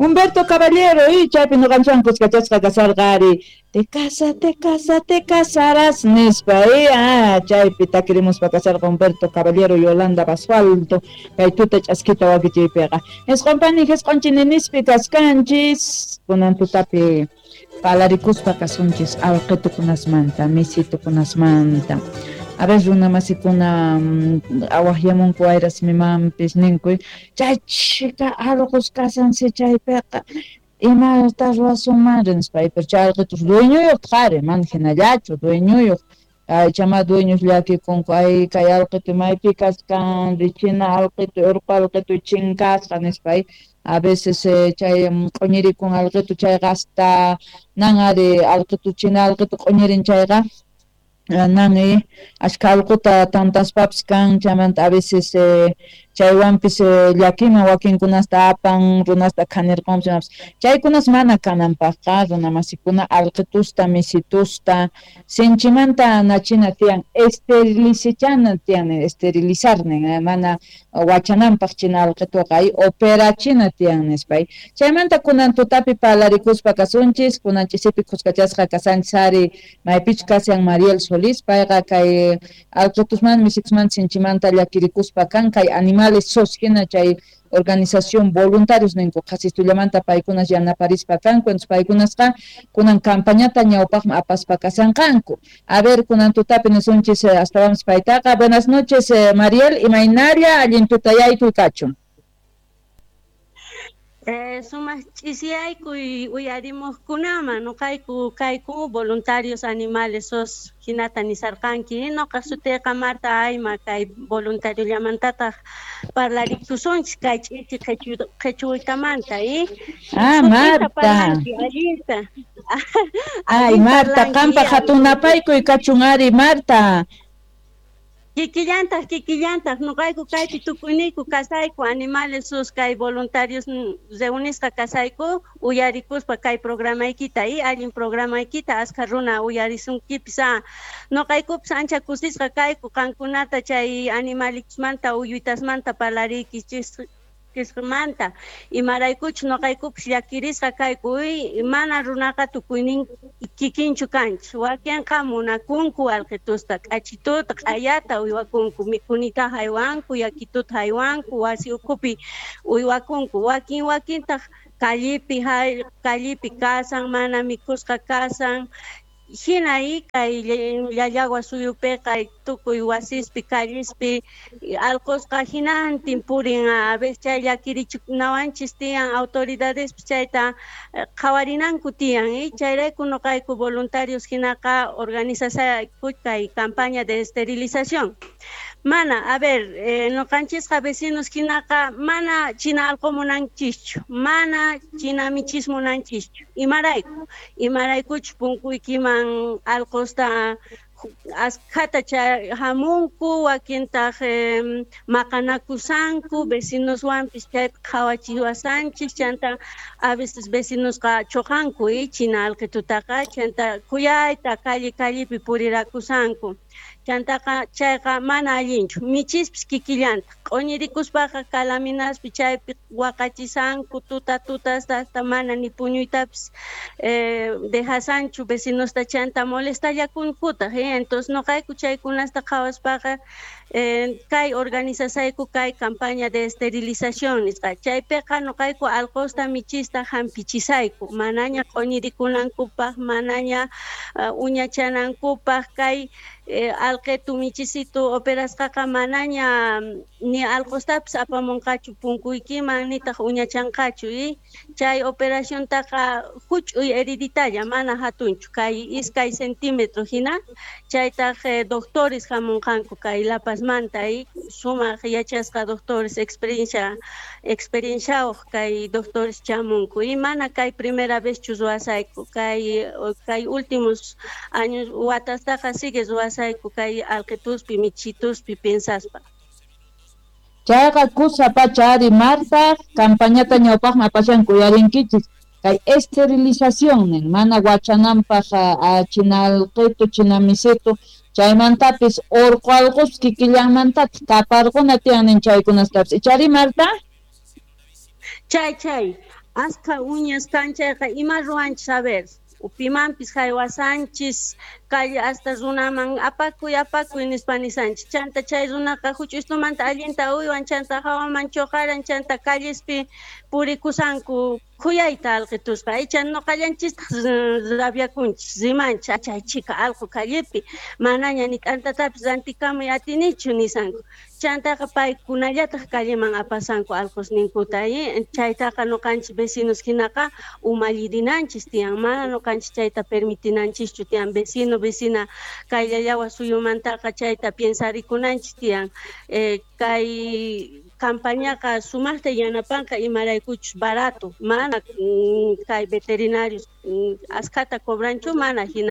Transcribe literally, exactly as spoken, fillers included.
Humberto Caballero y chaypi nuqanchikwan kuskachasqa kasarqa ari te casa, te casa, te casarás nispa y ah, chaypi takirimuspa kasarqa Humberto Caballero, Yolanda Basualdo kay tuta ch'askita wakichiypiqa. Isqun pani isqun chininispi kaskanchis kunan tutapi palarikuspa kasunchis alqitukunasmanta, misitukunasmanta. A ver, runa masikuna awaqyamunku wayrasmimanpis ninkuy chay chhika allqus kasansi chaypiqa imata ruwasunmanri nispa, pero chay alqitus dueñoyuq qhari mana hinallachu dueñoyuq chama dueños llakikunku ay kay alqitu maypi kaskan china alqitu urqu alqitu chinkasqa nispa. A veces chay q'uñirikun alqitu chayqa hasta nan ari alqitu china alqitu q'uñirin chayqa nan ashka allquta tantaspapis kan chaymanta a veces chaywanpis llakiman wakinkunasta apan runasta khanirqunpis chaykunas mana kananpaqqa runa masikuna alqitusta misitusta sinchimanta nachina tiyan esterilizachana tiyan esterilizarnin mana wachananpaq china alqituqa operachina tiyan nispa. Chaymanta kunan tutapi palarikuspa kasunchis kunan ch'isipi khuskachasqa kasanchis ari maypichu kashan Mariel Solís payqa kay alqitusman misitusman sinchimanta llakirikuspa kan kay animales sos hina chay organización voluntarios ninku qhasistullamanta paykunas yanaparispa kanku entonces paykunasqa kunan campañata ñawpaqman apaspa kasanqanku. A ver kunan tutapi nisunchis astawanpis paytaqa. Buenas noches eh, Mariel, imaynalla allin tutayaykuy kachun. Eh, sumaq ch'isiyaykuy uyarimuqkunaman nuqayku kayku voluntarios animales sos hinata nisarqanki nuqa sutiyqa Marta Ayma kay voluntariollamantataq parlarikusunchis kay ch'isi qhichwaytamanta y ah Marta allinta. Ay Marta qampa hatunapaykuy kachun ari Marta. Kikillantaq kikillantaq nuqayku kaypi tukuyniyku kasayku animales sus kay voluntarios reunisqa kasayku uyarikuspa kay programaykita y allin programaykita askha runa uyarisunkipis a nuqaykupis ancha kusisqa kayku qankunata chay animalitusmanta uyuytasmanta parlariykichis kismanta imaraykuchus nuqaykupis llakirisqa kayku mana runaqa tukuynin kikinchu kanchis wakinqa munakunku alqitusta k'achituta q'ayata uywakunku mikhunita haywanku yakituta haywanku wasi ukhupi uywakunku wakin wakintaq kallipi kallipi kasan mana mikhusqa kasan hina kay Llallagua suyupiqa tukuy wasispi kallispi allqusqa hinantin purin a veces chay llakirichinawanchis tiyan autoridadespis chayta qhawarinanku tiyan y chayrayku nuqayku voluntarios hinaqa organizasayku kay campaña de esterilización. Mana, a ver, eh, nuqanchisqa vecinos hinaqa mana china allqu munanchischu, mana china michis munanchischu. Imarayku, imaraykuchus punkuykiman allqusta askhata hamunku, wakintaq eh, maqanakusanku, vecinoswanpis chaypi qhawachiwasanchis, chanta a veces vecinosqa chuqanku y china alqitutaqa, chanta khuyayta calle callepi purirakusanku. Chantaqa chayqa mana allinchu michispis kikillanta q'uñirikuspaqa kalaminaspi chaypi waqachisanku tuta tutasta hasta mana ni puñuytapis eh, dejasanchu vecinosta chanta molestallakunkutaq eh? Entonces nuqayku chaykunasta qhawaspaqa eh, kay organizasayku kay campaña de esterilización nisqa chaypiqa nuqayku allqusta michista hampichisayku manaña q'uñirikunankupaq manaña uh, uñachanankupaq kay eh, alqitu michisitu operasqaqa manaña ni allqustapis apamunqachu punkuykiman nitaq uñachanqachu y chay operaciontaqa huch'uy heriditalla mana hatunchu kay iskay centímetro hina chaytaq eh, doctores hamunqanku kay La Pazmanta y sumaq yachasqa doctores experiencia experienciayuq kay doctores chamunku y mana kay primera vez chu ruwasayku kay kay últimos años watastaqa sigue ruwasayku kay alqituspi michituspi piensaspa. Chayqa kusa pacha ari Marta campañata ñawpaqman apashanku uyarinkichis kay esterilización nin mana wachananpaq china alqitu china misitu chaymantapis urqu allqus kikillanmantataq taparquna tiyan nin chaykunastapis ichari Marta. Chay chay askha uñas kan chayqa ima ruwanchis a ver pimanpis haywasanchis calle hasta runaman apakuy apakuy nispa nisanchis chanta chay runaqa huch'uystumanta allinta uywan chanta hawaman choqaran chanta callespi purikusanku khuyayta alqitusqa icha noqallanchistaq rabiakunchis rimanchis chay chika alqu callepi manaña ni t'antatapis rantikamuy atinichu nisanku chantaqa paykunallataq calleman apasanku alqusninkuta chaytaqa noqanchis vecinos hinaqa umallirinanchis tiyan mana noqanchis chayta permitinanchischu tiyan vecino vecina kay llallawa suyumantaqa chayta piensarikunanchis tiyan eh, kay campañaqa sumaqta yanapanqa imaraykuchus barato mana kay veterinarios askhata cobranchu mana hina.